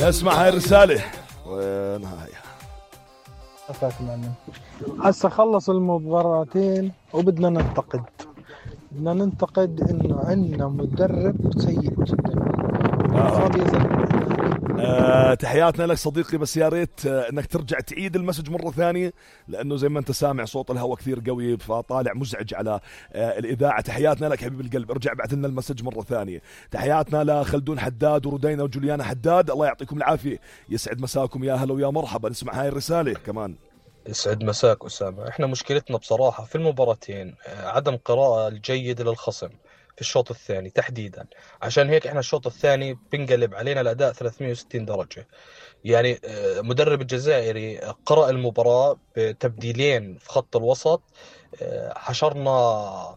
نسمع هاي الرسالة وينها هاي. عفاك معلم. هسه خلص المباراتين وبدنا ننتقد انه عندنا مدرب سيء جدا. تحياتنا لك صديقي، بس يا ريت انك ترجع تعيد المسج مرة ثانية، لانه زي ما انت سامع صوت الهواء كثير قوي فطالع مزعج على الاذاعة. تحياتنا لك حبيب القلب، ارجع بعث لنا المسج مرة ثانية. تحياتنا لخلدون حداد وردينا وجوليانا حداد، الله يعطيكم العافية، يسعد مساكم، يا هلا ويا مرحبا. نسمع هاي الرسالة كمان. يسعد مساك أسامة. احنا مشكلتنا بصراحة في المباراتين عدم قراءة الجيدة للخصم في الشوط الثاني تحديدا، عشان هيك احنا الشوط الثاني بنقلب علينا الأداء 360 درجة. يعني مدرب الجزائري قرأ المباراة بتبديلين في خط الوسط، حشرنا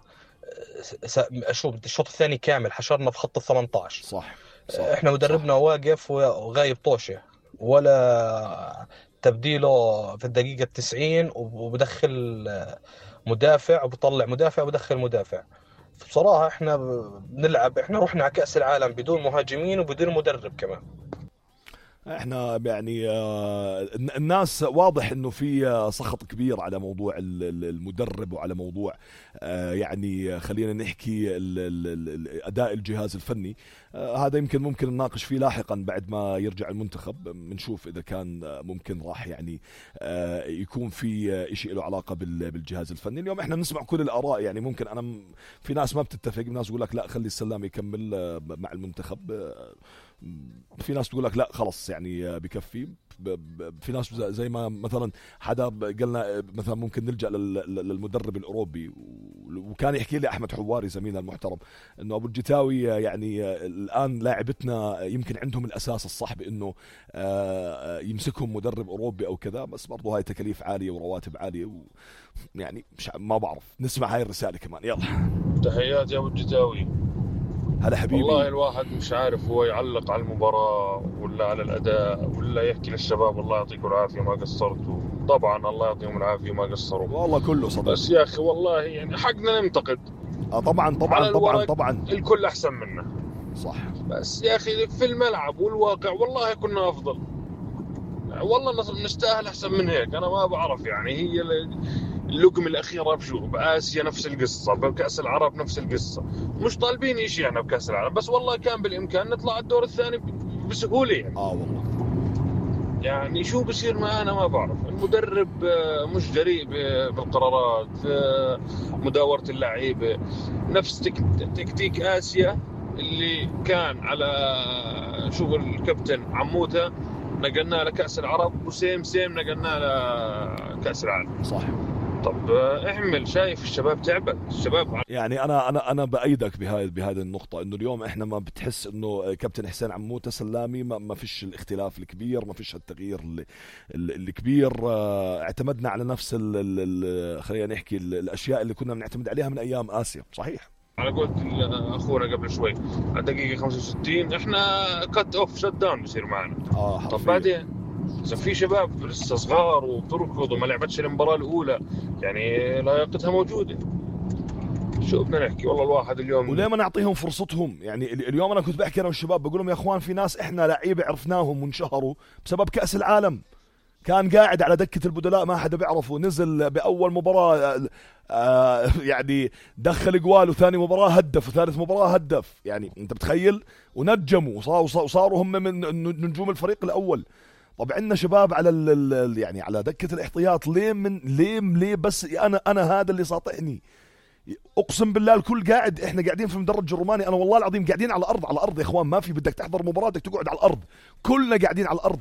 شو الشوط الثاني كامل حشرنا في خط 18. صح. احنا مدربنا صح. واقف وغايب طوشة، ولا تبديله في الدقيقة 90 وبدخل مدافع وبطلع مدافع وبدخل مدافع. بصراحة احنا بنلعب، احنا رحنا على كأس العالم بدون مهاجمين وبدون مدرب كمان. احنا يعني الناس واضح انه في سخط كبير على موضوع المدرب وعلى موضوع يعني خلينا نحكي اداء الجهاز الفني. هذا ممكن نناقش فيه لاحقا بعد ما يرجع المنتخب، بنشوف اذا كان ممكن راح يعني يكون في شيء له علاقة بالجهاز الفني. اليوم احنا بنسمع كل الاراء، يعني ممكن انا في ناس ما بتتفق، ناس يقول لك لا خلي السلام يكمل مع المنتخب، في ناس تقول لك لا خلص يعني بكفي، في ناس زي ما مثلا حدا قالنا مثلا ممكن نلجأ للمدرب الأوروبي، وكان يحكي لي أحمد حواري زميلنا المحترم إنه أبو الجتاوي يعني الآن لاعبتنا يمكن عندهم الأساس الصح بإنه يمسكهم مدرب أوروبي أو كذا، بس برضو هاي تكاليف عالية ورواتب عالية يعني مش ما بعرف. نسمع هاي الرسالة كمان، يلا. تحياتي يا أبو الجتاوي. هلا حبيبي. والله الواحد مش عارف هو يعلق على المباراة ولا على الأداء ولا يحكي للشباب الله يعطيكم العافية ما قصرتوا. طبعا الله يعطيهم العافية ما قصروا والله كله صدق، بس يا أخي والله يعني حقنا ننتقد. طبعا الكل أحسن منا صح، بس يا أخي في الملعب والواقع والله كنا أفضل، والله نستاهل أحسن من هيك. أنا ما بعرف يعني هي اللقمة الأخيرة بآسيا نفس القصة، بكأس العرب نفس القصة، مش طالبين إشي يعني بكأس العرب، بس والله كان بالإمكان نطلع الدور الثاني بسهولة يعني. والله يعني شو بصير معنا ما بعرف. المدرب مش جريء بالقرارات، مداورة اللعيبة نفس تكتيك آسيا اللي كان على شغل الكابتن عموتة، نقلنا لكأس العرب وسيم نقلنا لكأس العالم. صح. طب اعمل، شايف الشباب تعبت، الشباب يعني انا بايدك بهذه النقطه، انه اليوم احنا ما بتحس انه كابتن حسين عموته سلامي ما فيش الاختلاف الكبير، ما فيش التغيير الكبير. اعتمدنا على نفس خلينا نحكي الاشياء اللي كنا بنعتمد عليها من ايام اسيا. صحيح. على قولت اخونا قبل شوي على دقيقه 65 احنا كت اوف شت داون بصير معنا. طب بعدين إذا في شباب لسه صغار وبتركض وما لعبتش المباراة الأولى يعني لياقتها موجودة، شو بدنا نحكي؟ والله الواحد اليوم وليه ما نعطيهم فرصتهم؟ يعني اليوم أنا كنت بحكي أنا والشباب بقول لهم يا أخوان في ناس إحنا لعيبة عرفناهم وانشهروا بسبب كأس العالم، كان قاعد على دكة البدلاء ما حدا بيعرفه، نزل بأول مباراة يعني دخل جوال، وثاني مباراة هدف، وثالث مباراة هدف، يعني أنت بتخيل، ونجموا وصاروا هم من نجوم الفريق الأول. طب عندنا شباب على يعني على دكة الاحتياط، ليه بس انا هذا اللي ساطعني. اقسم بالله الكل قاعد، احنا قاعدين في المدرج الروماني، انا والله العظيم قاعدين على الارض يا اخوان، ما في بدك تحضر مباراة بدك تقعد على الارض، كلنا قاعدين على الارض،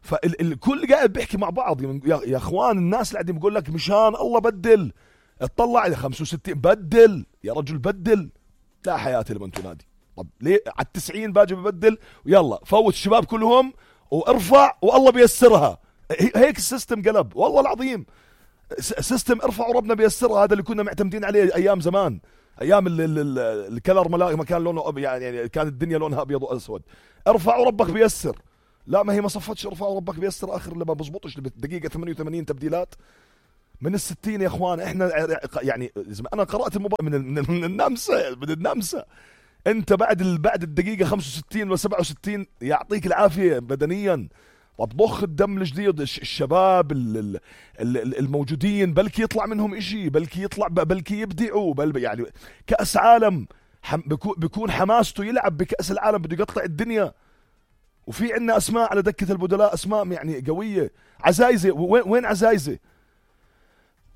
فالكل قاعد بيحكي مع بعض. يا اخوان الناس اللي قاعدين بيقول لك مشان الله بدل، اطلع على 65 بدل يا رجل بدل، لا حياتي لمن تنادي. طب ليه على 90 باجي ببدل ويلا فوت الشباب كلهم وارفع والله بيسرها. هيك السيستم قلب والله العظيم، سيستم ارفع وربنا بيسرها، هذا اللي كنا معتمدين عليه ايام زمان، ايام الكلر ما كان لونه يعني كانت الدنيا لونها ابيض واسود، ارفع وربك بيسر. لا ما هي ما صفتش ارفع وربك بيسر، اخر اللي ما بزبطش دقيقه 88 تبديلات من ال60 يا اخوان. احنا يعني انا قرات المباراه من النمسا انت بعد الدقيقة 65 و 67 يعطيك العافية بدنيا. طب ضخ الدم الجديد، الشباب الموجودين بلكي يطلع منهم اشي، بلكي يبدعوا، يعني كأس عالم بيكون حماسته يلعب بكأس العالم، بده يقطع الدنيا. وفي عنا اسماء على دكة البدلاء، اسماء يعني قوية. عزايزة، وين عزايزة؟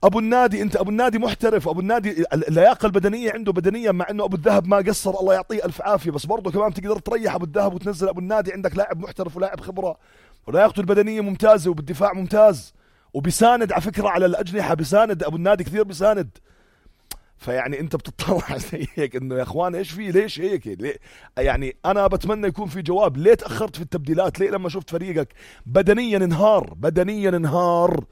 ابو النادي، انت ابو النادي محترف، ابو النادي اللياقه البدنيه عنده بدنيا، مع انه ابو الذهب ما قصر الله يعطيه الف عافيه، بس برضه كمان تقدر تريح ابو الذهب وتنزل ابو النادي. عندك لاعب محترف ولاعب خبره، ولياقته البدنيه ممتازه، وبالدفاع ممتاز، وبيساند على فكره على الاجنحه، بيساند ابو النادي كثير بيساند. فيعني انت بتطلع زي هيك انه يا اخوان ايش في، ليش هيك؟ ليه؟ يعني انا بتمنى يكون في جواب. ليه تاخرت في التبديلات؟ ليه لما شفت فريقك بدنيا انهار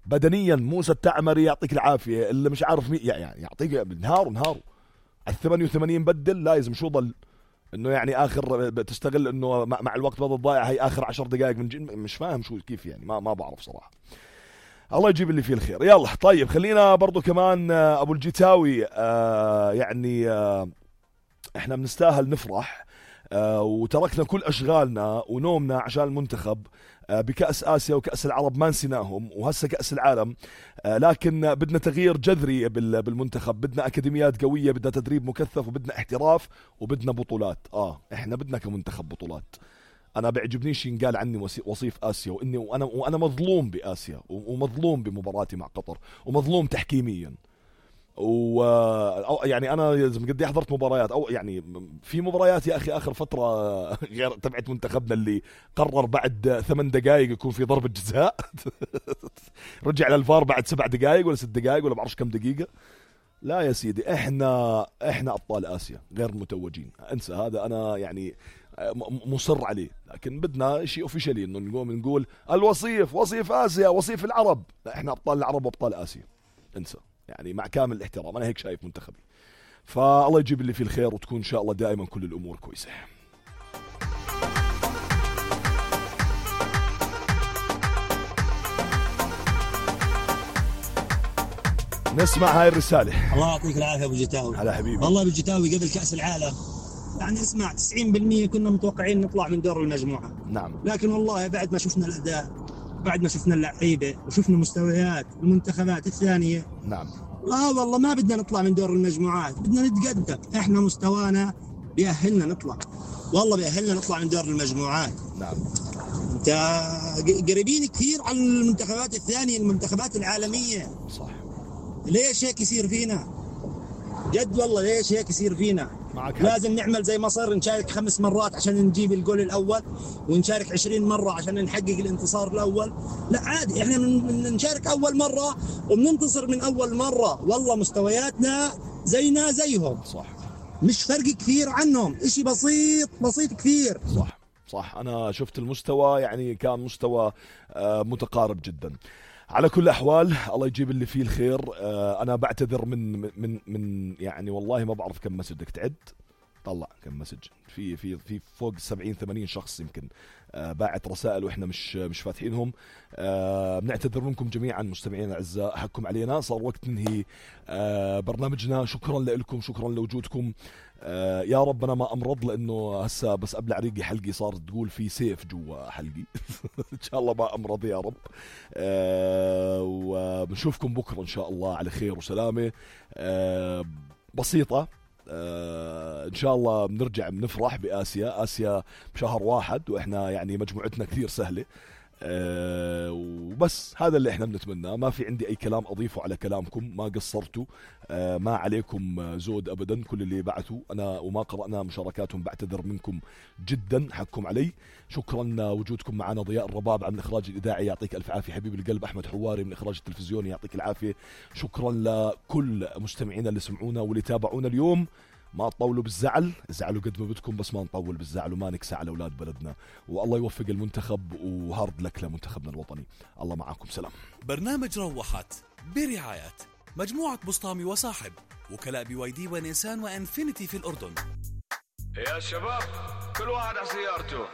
بدنيا؟ موسى التعمري يعطيك العافيه، اللي مش عارف مين يعني يعطيك انهار على 88 بدل. لازم شو ضل انه يعني اخر تستغل انه مع الوقت بدل ضايع، هي اخر 10 دقائق مش فاهم شو كيف يعني، ما بعرف صراحه. الله يجيب اللي فيه الخير. يلا طيب، خلينا برضو كمان ابو الجيتاوي، يعني احنا بنستاهل نفرح، وتركنا كل اشغالنا ونومنا عشان المنتخب بكأس آسيا وكأس العرب، ما نسيناهم، وهسه كأس العالم. لكن بدنا تغيير جذري بالمنتخب، بدنا أكاديميات قوية، بدنا تدريب مكثف، وبدنا احتراف، وبدنا بطولات. احنا بدنا كمنتخب بطولات. انا بيعجبنيش ينقال عني وصيف آسيا، وانا مظلوم بآسيا، ومظلوم بمباراتي مع قطر، ومظلوم تحكيميا. يعني انا قد حضرت مباريات، او يعني في مباريات يا اخي اخر فتره غير تبعت منتخبنا اللي قرر بعد 8 دقائق يكون في ضربه جزاء رجع للفار بعد 7 دقائق ولا 6 دقائق ولا بعرفش كم دقيقه. لا يا سيدي، احنا ابطال اسيا غير متوجين، انسى هذا. انا يعني مصر عليه، لكن بدنا شيء اوفيشالي انه نقوم نقول وصيف اسيا، وصيف العرب. لا، احنا ابطال العرب وابطال اسيا، انسى. يعني مع كامل الاحترام، انا هيك شايف منتخبي. فالله يجيب اللي فيه الخير، وتكون ان شاء الله دائما كل الامور كويسه. نسمع هاي الرساله. الله يعطيك العافيه ابو جيتاوي. هلا حبيبي. والله ابو جيتاوي قبل كاس العالم يعني اسمع 90% كنا متوقعين نطلع من دور المجموعه. نعم. لكن والله بعد ما شفنا الاداء، بعد ما شفنا اللعيبه، وشفنا مستويات المنتخبات الثانيه، نعم، والله ما بدنا نطلع من دور المجموعات، بدنا نتقدم. احنا مستوانا بيأهلنا نطلع، والله بيأهلنا نطلع من دور المجموعات. نعم. انت قريبين كثير على المنتخبات الثانيه، المنتخبات العالميه. صح. ليش هيك يصير فينا؟ جد والله ليش هيك يصير فينا؟ لازم نعمل زي مصر، نشارك 5 مرات عشان نجيب الجول الأول، ونشارك 20 مرة عشان نحقق الانتصار الأول. لا عادي، احنا نشارك أول مرة وبننتصر من أول مرة. والله مستوياتنا زينا زيهم. صح. مش فرق كثير عنهم، اشي بسيط كثير. صح. أنا شفت المستوى، يعني كان مستوى متقارب جدا. على كل الأحوال الله يجيب اللي فيه الخير. أنا بعتذر من يعني والله ما بعرف كم مسج بدك تعد. طلع كم مسج، في فوق 70-80 شخص يمكن باعت رسائل واحنا مش فاتحينهم. بنعتذر منكم جميعا مستمعينا الاعزاء، حقكم علينا، صار وقت ننهي برنامجنا. شكرا لكم، شكرا لوجودكم. يا رب انا ما امرض، لانه هسه بس قبل عريقي حلقي صارت تقول في سيف جوا حلقي ان شاء الله ما امرض يا رب. وبنشوفكم بكره ان شاء الله على خير وسلامه بسيطه. ان شاء الله بنرجع بنفرح بآسيا بشهر 1، واحنا يعني مجموعتنا كثير سهله. وبس هذا اللي احنا بنتمناه. ما في عندي اي كلام اضيفه على كلامكم، ما قصرتوا، ما عليكم زود ابدا. كل اللي بعثوا انا وما قرأنا مشاركاتهم بعتذر منكم جدا، حقكم علي. شكرا لوجودكم معنا. ضياء الرباب عن الاخراج الاذاعي، يعطيك الف عافيه حبيب القلب. احمد حواري من الاخراج التلفزيوني، يعطيك العافيه. شكرا لكل مستمعينا اللي سمعونا واللي تابعونا اليوم. ما تطولوا بالزعل، ازعلوا قد ما بدكم، بس ما نطول بالزعل وما نكسى على اولاد بلدنا. والله يوفق المنتخب، وهارد لك لمنتخبنا الوطني. الله معكم، سلام. برنامج روحت برعاية مجموعة بسطامي وصاحب، وكلاء BYD ونيسان وانفينيتي في الأردن. يا شباب كل واحد على سيارته.